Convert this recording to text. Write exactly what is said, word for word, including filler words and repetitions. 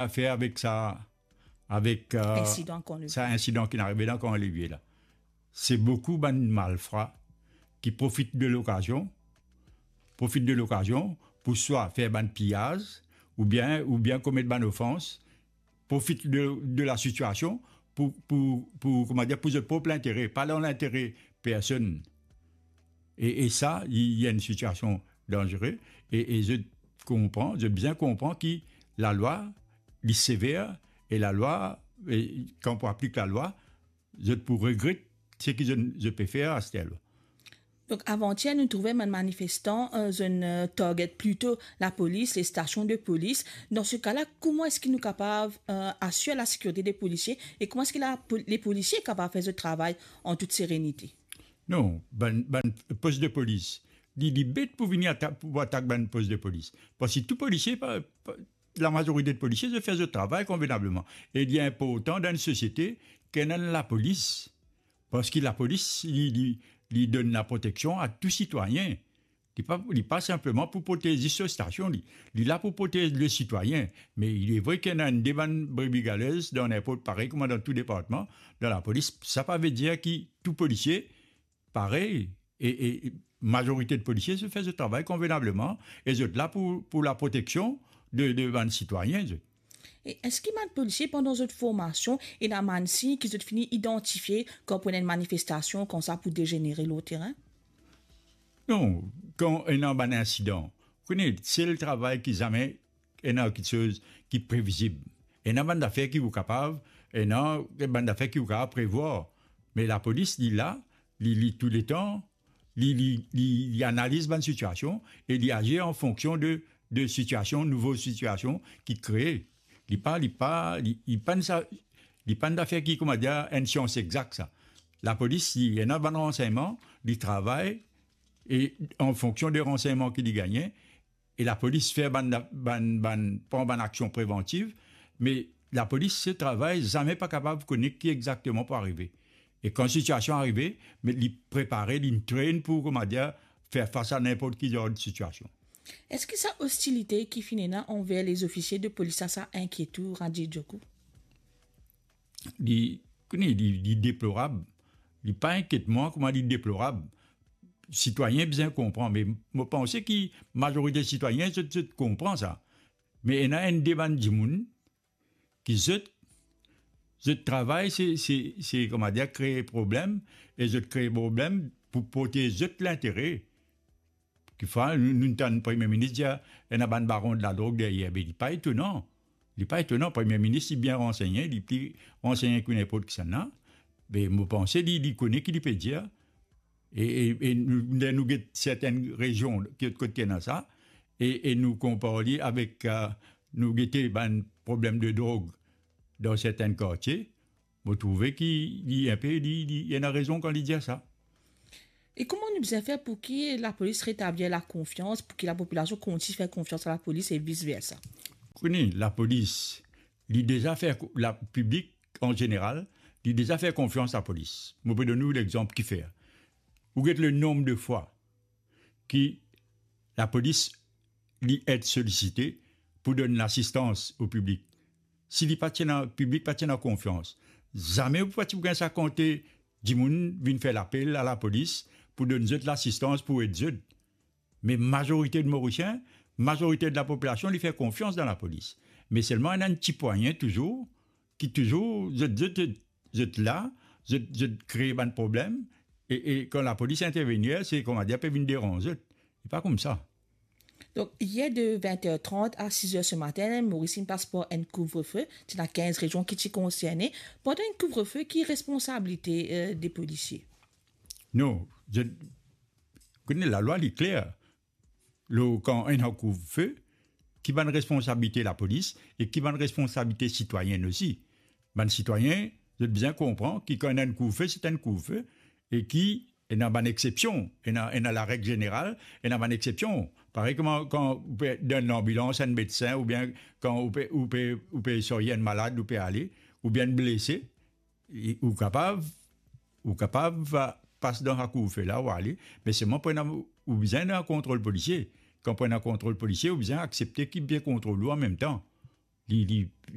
afer avek sa, avek, euh, Insidan kan Levier. Sa insidan ki arive dan kan Levier la. Se boukou bann malfra ki profit de lokazion, profit de lokazion pou swa fer bann piyaz, oubien, oubien komet bann ofans, profit de, de la sitiasion pou, pou, pou, kouma dir, pou zot prop lintere, pa dan lintere personn. E, e sa, li, li enn sitiasion danzere, e, e zot konpran, zot bizin konpran ki lalwa, li sever, e lalwa, e kan pou aplik lalwa, zot pou regret seki zot, zot pe fer aster la. Donk, avantier, nou trouve bann manifestan, euh, zot, euh, target plito lapolis, les stations de police. Dan se ka la, kouma eski nou kapav, euh, asir lasekirite de polisie e kouma eski la pol-, le polisie kapav fer zot travay an tout serenite? Non, bann, bann pos de polis, li, li bet pou vini atak, pou atak bann pos de polis. Parski tou polisie, pa, pa, lamazorite de polisie, zot fer zot travay konvenableman. E li inportan dan enn sosiete ki ena lapolis. Parski lapolis, li, li, li donn laproteksion a tou sitwayin. Li pa, li pa sinpleman pou protez zis so stasion, li, li la pou protez le sitwayin. Me li vre ki ena enn de bann brebi galez dan ninport, parey kouma dan tou departman, dan lapolis, sa pa ve dir ki tou polisie parey, e, e, e mazorite de polisie, zot fer zot travay konvenableman, e zot la pou, pou laproteksion de, de bann sitwayin, zot. E eski bann polisie, pandan zot formasion, ena bann sign ki zot fini idantifie kan pou ena enn manifestasion koumsa pou dezenere lor terin? Non, kan ena bann insidan, kone, sel travay ki zame ena kiksoz ki previzib. Ena bann zafer ki ou kapav, ena bann zafer ki ou kapav prevwar. Me lapolis, li la, li, li touletan, li, li, li, li analiz bann sitiasion e li azir an fonksion de, de sitiasion, nouvo sitiasion ki kree. Li pa, li pa, li, li pa enn sa, li pa enn zafer ki, kouma dir, enn sians egzak sa. Lapolis, li ena bann ransegnman, li travay e an fonksion de ransegnman ki li gagne, e lapolis fer bann, bann, bann, pran bann aksion prevantiv, me lapolis, so travay, zame pa kapav kone ki exakteman pou arive. E kan sitiasion arive, me li prepare, li train pou, kouma dir, fer fas a ninport ki zanr de sitiasion. Eski sa ostilite ki finn ena anver lezofisie de polis la, sa inkiet ou, Radjil Djokou? Li, kone, li, li deplorab. Li pa inkiet mwa kouma li deplorab. Sitwayin bizin konpran, me mo panse ki mazorite sitwayin, zot, zot konpran sa. Me ena enn de bann dimoun ki zot, zot travay, se, se, se, kouma dir, kree problem, e zot kree problem pou protez zot lintere. Kikfwa, nou, nou tann Premie Minis dir, ena bann baron de ladrog deryer, be li pa etonan. Li pa etonan, Premie Minis, li bien ransegne, li pli ransegne ki ninport kisannla. Be mo panse, li, li kone ki li pe dir. E, e, e nou, ler nou get sertenn rezion, ki, kot ki ena sa, e, e nou konpar li avek, euh, nou gete bann problem de drog dan sertenn kartie, mo trouve ki li inpe, li, li, li ena rezon kan li dir sa. E kouma nou bizin fer pou ki lapolis retablir lakonfians, pou ki lapopilasion kontign fer konfians a lapolis e vis versa? Kone, lapolis, li deza fer ko-, la, piblik an zeneral, li deza fer konfians lapolis. Mo pe donn ou lexanp kifer. Ou get le nonb de fwa ki lapolis, li et solisite pou donn lasistans o piblik. Si li pa ti ena, piblik pa ti ena konfians, zame ou pa ti pou gagn sa kantite dimoun vinn fer lapel a lapolis pou donn zot lasistans, pou ed zot. Me mazorite de Morisien, mazorite de lapopilasion, li fer konfians dan lapolis. Me selman, ena enn ti pwayin touzour, ki touzour, zot, zot, zot, zot la, zot, zot kree bann problem, e, e kan lapolis intervenir, se, kouma dir, pe vinn deranz zot. Li pa koumsa. Donk, yer de vint er trant a siz er se matin, Moris inn pas par enn kouvrefe, ti ena kinz rezion ki ti konserne. Pandan enn kouvrefe, ki responsabilite, euh, de polisie? Non, zot, kone, lalwa li kler. Lor kan ena kouvrefe, ki bann responsabilite lapolis e ki bann responsabilite sitwayin osi. Bann sitwayin, zot bizin konpran ki kan ena enn kouvrefe, se enn kouvrefe, e ki ena bann exsepsion, ena, ena lareg zeneral, ena bann exsepsion. Parey kouma kan ou pe dan lanbilans, enn medsin, oubien kan ou pe, ou pe, ou pe sarye enn malad, ou pe ale, oubien enn blese, e ou kapav, ou kapav, a, pas dan sa kouvrefe la, ou ale, me selman pou ena, ou bizin ena kontrol polisie. Kan pou ena kontrol polisie, ou bizin aksepte ki pe kontrol ou anmemtan. Li, li,